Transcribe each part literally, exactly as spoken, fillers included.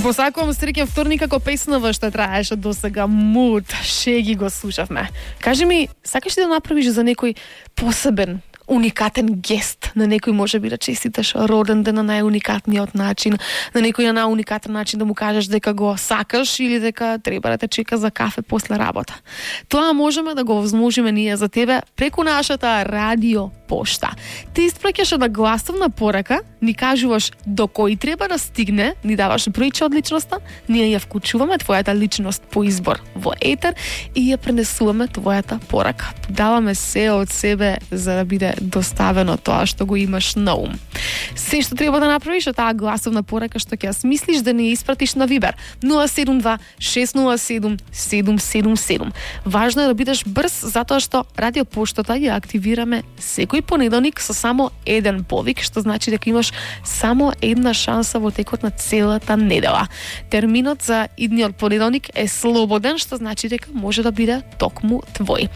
посакувам среќен вторник како песнава што траеше досега Муд. Шеги го слушавме. Кажи ми, сакаш ли да направиш за некој посебен, уникатен гест, на некој може би да честиташ роден ден на најуникатниот начин, на некој на најуникатен начин да му кажеш дека го сакаш или дека треба да те чека за кафе после работа. Тоа можеме да го возможиме ние за тебе преку нашата радио пошта. Ти испраќаш една гласовна порака, ни кажуваш до кој треба да стигне, ни даваш бројче од личноста, ние ја вклучуваме твојата личност по избор во етер и ја пренесуваме твојата порака. Даваме се од себе за да биде доставено тоа што го имаш на ум. Се што треба да направиш е таа гласовна порака што ќе ја смислиш да не ја испратиш на Вибер нула седум два шест нула седум седум седум седум. Важно е да бидеш брз затоа што радио поштата ја активираме секој понеделник со само еден повик, што значи дека имаш само една шанса во текот на целата недела. Терминот за идниот понеделник е слободен, што значи дека може да биде токму твој.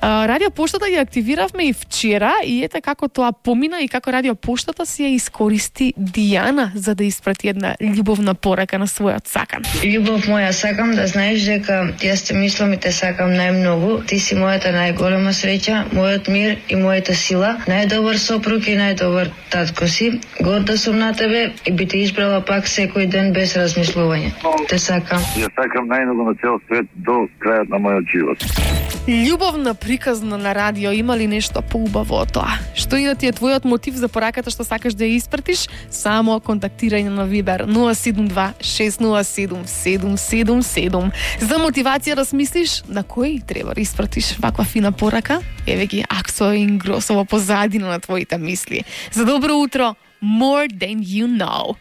Радио поштата ја активиравме и вчера и ете како тоа помина и како радио поштата си ја искористи Дијана за да испрати една љубовна порака на својот сакан. Љубов моја, сакам да знаеш дека јас те мислам и те сакам најмногу. Ти си мојата најголема среќа, мојот мир и мојата сила. Најдобар сопруг и најдобар татко си. Горда сум на тебе и би те избрала пак секој ден без размислување. Те сакам. Ја сакам најмногу на цел свет до крајот на мојот живот. Љубовна приказна на радио, има ли нешто поубаво од тоа? Што и да ти е твојот мотив за пораката што сакаш да ја испратиш, само контактирање на Вибер нула седум два шест нула седум седум седум седум. За мотивација да смислиш на кој треба да испратиш ваква фина порака, еве ги Аксо и Ингросо во позадина на твоите мисли. За добро утро, More Than You Know.